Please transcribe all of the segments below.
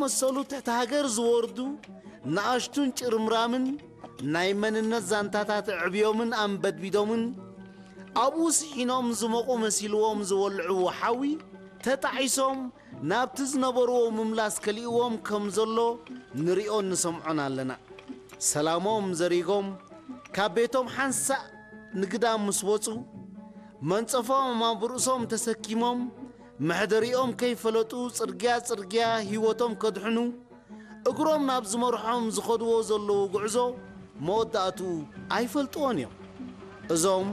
መሰሉ ትሕቲ ሃገር ዝወርዱ ንኣሽቱን ጭርምራምን ናይ መንነት ዛንታታት ኣዕብዮምን ኣንበድቢዶምን ኣብኡ ስሒኖም ዝሞቑ መሲልዎም ዝወልዕዎ ሓዊ ተጣዒሶም ናብቲ ዝነበርዎ ምምላስ ከሊእዎም ከም ዘሎ ንሪኦን ንሰምዖን ኣለና። ሰላሞም ዘሪጎም ካብ ቤቶም ሓንሳእ ንግዳም ምስ ወጹ መንጸፎም ኣብ ርእሶም ተሰኪሞም መሕደሪኦም ከይፈለጡ ጽርግያ ጽርግያ ህይወቶም ከድሕኑ እግሮም ናብ ዝመርሖም ዝኸድዎ ዘለዉ ጉዕዞ መወዳእትኡ ኣይፈልጥዎን እዮም። እዞም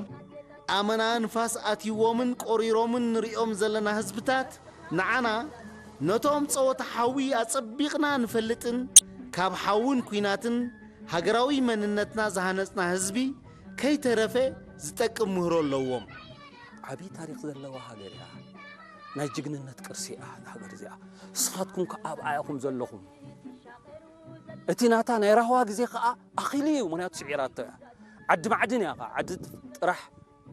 ኣመና ንፋስ ኣትይዎምን ቆሪሮምን ንሪኦም ዘለና ህዝብታት ንዓና ነቶም ጸወታ ሓዊ ኣጸቢቕና ንፈልጥን ካብ ሓውን ኲናትን ሃገራዊ መንነትና ዝሃነጽና ህዝቢ ከይተረፈ ዝጠቅም ምህሮ ኣለዎም። ዓብዪ ታሪኽ ዘለዋ ሃገር እያ። ናይ ጅግንነት ቅርሲ እያ እዛ ሃገር እዚኣ። ንስኻትኩም ከ ኣብኣ ኢኹም ዘለኹም። እቲ ናታ ናይ ራህዋ ግዜ ከኣ ኣኺሉ እዩ፣ ምኽንያቱ ስዒራቶ እያ። ዓዲ ማዕድን እያ ከኣ፣ ዓዲ ጥራሕ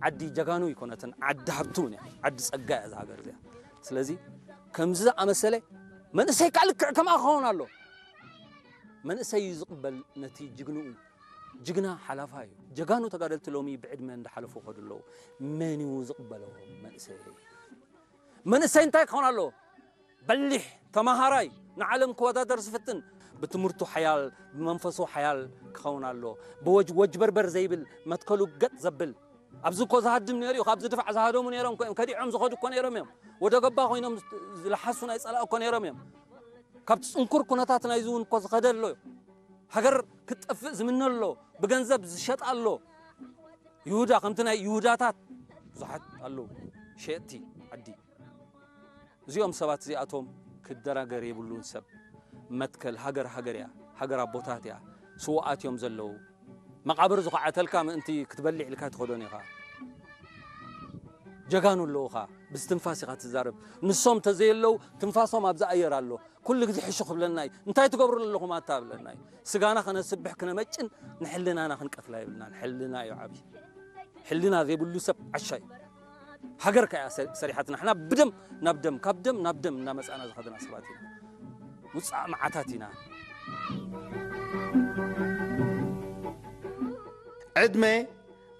ዓዲ ጀጋኑ ኣይኮነትን፣ ዓዲ ሃብቲ እውን እያ፣ ዓዲ ጸጋ እያ እዛ ሃገር እዚኣ። ስለዚ ከምዚ ዝኣመሰለ መንእሰይ ከኣ ልክዕ ከምኣ ክኸውን ኣሎ። መንእሰይ እዩ ዝቕበል ነቲ ጅግንኡ። ጅግና ሓላፋ እዩ። ጀጋኑ ተጋደልቲ ሎሚ ብዕድመ እንዳሓለፉ ይኸዱ ኣለዉ። መን እዩ ዝቕበሎ መንእሰይ? መንእሰይ እንታይ ክኸውን ኣለዎ? በሊሕ፣ ተማሃራይ፣ ንዓለም ክወዳደር ዝፍትን፣ ብትምህርቱ ሓያል፣ ብመንፈሱ ሓያል ክኸውን ኣለዎ። ብወጅ-፣ ወጅበርበር ዘይብል፣ መትከሉ ገጥ ዘብል። ኣብዚ እኮ ዝሃድም ነይሩ እዩ፣ ካብዚ ድፋዕ ዝሃደሙ ነይሮም እኮ እዮም፣ ከዲዖም ዝኸዱ እኮ ነይሮም እዮም። ወደ ገባ ኮይኖም ዝለሓሱ ናይ ጸላእ እኮ ነይሮም እዮም። ካብቲ ጽንኩር ኩነታት ናይዚ እውን እኮ ዝኸደ ኣሎ እዩ። ሃገር ክትጠፍእ ዝምነ ኣሎ፣ ብገንዘብ ዝሸጥ ኣሎ። ይሁዳ፣ ከምቲ ናይ ይሁዳታት ብዙሓት ኣለዉ፣ ሸየጥቲ ዓዲ። እዚኦም ሰባት እዚኣቶም ክደናገር የብሉን። ሰብ መትከል ሃገር፣ ሃገር እያ፣ ሃገር ኣቦታት እያ። ስውኣት እዮም ዘለዉ። መቓብር ዝኹዓተልካ ምእንቲ ክትበልዕ ኢልካ ትኸዶን ኢኻ። ጀጋኑ ኣለዉኻ፣ ብዝትንፋስ ኢኻ ትዛረብ። ንሶም ተዘየለዉ ትንፋሶም ኣብዚ ኣየር ኣሎ። ኩሉ ግዜ ሕሹ ክብለና እዩ። እንታይ ትገብሩ ኣለኹም ኣታ ብለና እዩ። ስጋና ከነስብሕ ክነመጭን ንሕልናና ክንቀትላ የብልናን። ሕልና እዩ ዓብዪ። ሕልና ዘይብሉ ሰብ ዓሻ እዩ። ሃገር ከኣ ሰ-፣ ሰሪሓትና። ንሕና ብደም ናብ ደም፣ ካብ ደም ናብ ደም እናመጻእና ዝኸድና ሰባት ኢና። ውጻእ መዓታት ኢና። ዕድመ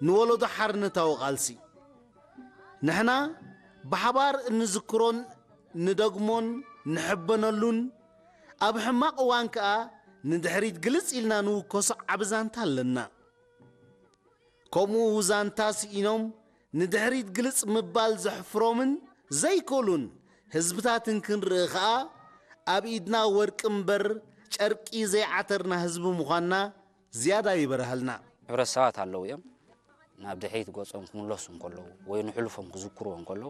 ንወለዶ ሓርነታዊ ቃልሲ። ንሕና ብሓባር እንዝክሮን ንደግሞን ንሕበነሉን፣ ኣብ ሕማቕ እዋን ከኣ ንድሕሪት ግልጽ ኢልና ንውከሶ ዓቢ ዛንታ ኣለና። ከምኡ ዛንታ ስኢኖም ንድሕሪት ግልጽ ምባል ዘሕፍሮምን ዘይክእሉን ህዝብታትን ክንርኢ ከኣ፣ ኣብ ኢድና ወርቂ እምበር ጨርቂ ዘይዓተርና ህዝቢ ምዃንና ዝያዳ ይበርሃልና። ሕብረተሰባት ኣለዉ እዮም። ናብ ድሕሪት ገጾም ክምለሱ እንከለዉ ወይ ንሕሉፎም ክዝክርዎ እንከለዉ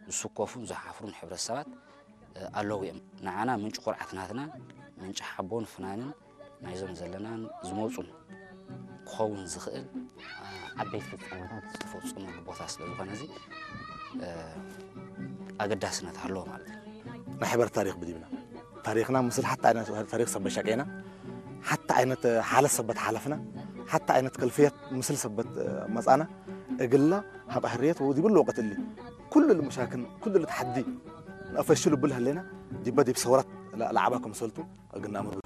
ዝስከፉን ዝሓፍሩን ሕብረተሰባት፣ እ፣ ኣለዉ እዮም። ንዓና ምንጪ ኩርዓት ናትና፣ ምንጪ ሓቦን ፍናንን ናይዞም ዘለናን ዝመጹን ክኸውን ዝኽእል፣ እ፣ ዓበይቲ ፍጻመታት ዝተፈጸመሉ ቦታ ስለ ዝኾነ እዚ፣ እ፣ ኣገዳስነት ኣለዎ ማለት እዩ። ናይ ሕበር ታሪኽ ብዲብና ታሪኽና ምስል ሓታ ዓይነት ታሪኽ ሰበት ሸቄና፣ ሓታ ዓይነት ሓለት ሰበት ሓለፍና፣ ሓታ ዓይነት ከልፍየት ምስል ሰበት መጻና፣ እግላ ሃብ ሕርየት ወዲብሉ ወቀት እሊ ኩሉ ልምሻክን ኩሉ ልትሓዲ ንፈሽሉ ብል ህሌና ዲበ ዲብ ሰውራት ለዓባ ከምሰልቱ እግና ምርጉ